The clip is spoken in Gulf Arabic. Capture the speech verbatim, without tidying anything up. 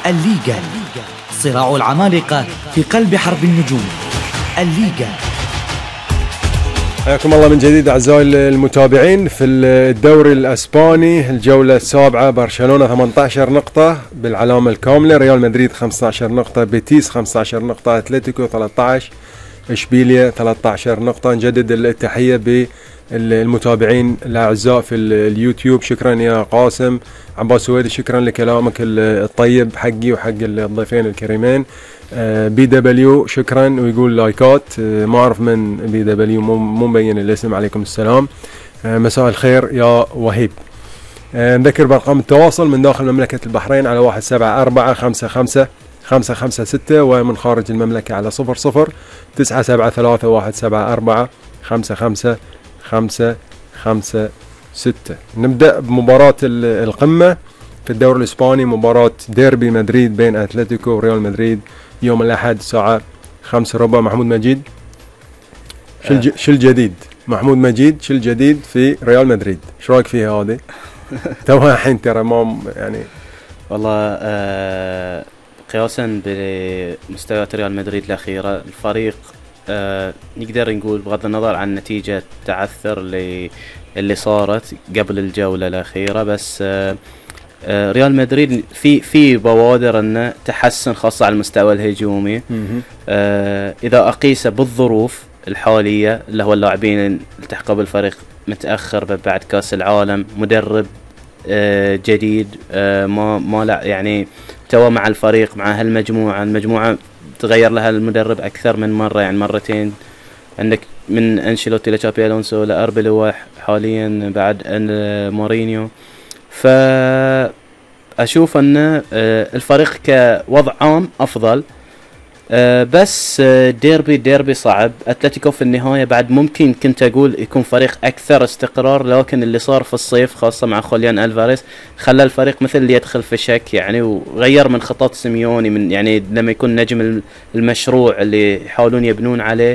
الليغا، صراع العمالقة في قلب حرب النجوم. الليغا. حياكم الله من جديد أعزائي المتابعين في الدوري الأسباني، الجولة السابعة. برشلونة ثمانية عشر نقطة بالعلامة الكاملة، ريال مدريد خمسة عشر نقطة، بيتيس خمسة عشر نقطة، أتلتيكو ثلاثة عشر، إشبيلية ثلاثة عشر نقطة. نجدد التحية بالمتابعين الأعزاء في اليوتيوب. شكرا يا قاسم عباس سويدي، شكرا لكلامك الطيب حقي وحق الضيفين الكريمين. بي دبليو شكرا ويقول لايكات، ما اعرف من بي دبليو، مو مبين الاسم. عليكم السلام، مساء الخير يا وهيب. نذكر بارقام التواصل من داخل مملكة البحرين على واحد سبعة أربعة خمسة خمسة خمسة خمسة ستة، ومن خارج المملكة على صفر صفر تسعة سبعة ثلاثة واحد سبعة أربعة خمسة خمسة خمسة خمسة ستة. نبدأ بمباراة القمة في الدوري الإسباني، مباراة ديربي مدريد بين أتلتيكو وريال مدريد يوم الأحد الساعة خمسة ربع. محمود مجيد، شو الج... شو الجديد؟ محمود مجيد، شو الجديد في ريال مدريد؟ شو رايك فيها هذه؟ توها الحين ترى ما يعني والله آه قياسا بمستويات ريال مدريد الأخيرة، الفريق آه نقدر نقول بغض النظر عن نتيجة تعثر اللي اللي صارت قبل الجولة الأخيرة، بس آه آه ريال مدريد في في بوادر انه تحسن خاصة على المستوى الهجومي. آه اذا اقيس بالظروف الحالية اللي هو اللاعبين التحقوا بالفريق متأخر بعد كأس العالم، مدرب آه جديد، آه ما ما لا يعني توا مع الفريق مع هالمجموعة، المجموعة تغير لها المدرب اكثر من مرة، يعني مرتين. عندك من انشيلوتي لتشابي الونسو لاربيلو حاليا بعد مورينيو. فأشوف أن الفريق كوضع عام أفضل، بس ديربي ديربي صعب. أتلتيكو في النهاية بعد ممكن كنت أقول يكون فريق أكثر استقرار، لكن اللي صار في الصيف خاصة مع خوليان ألفاريز خلى الفريق مثل اللي يدخل في شك يعني، وغير من خطط سيميوني من يعني لما يكون نجم المشروع اللي يحاولون يبنون عليه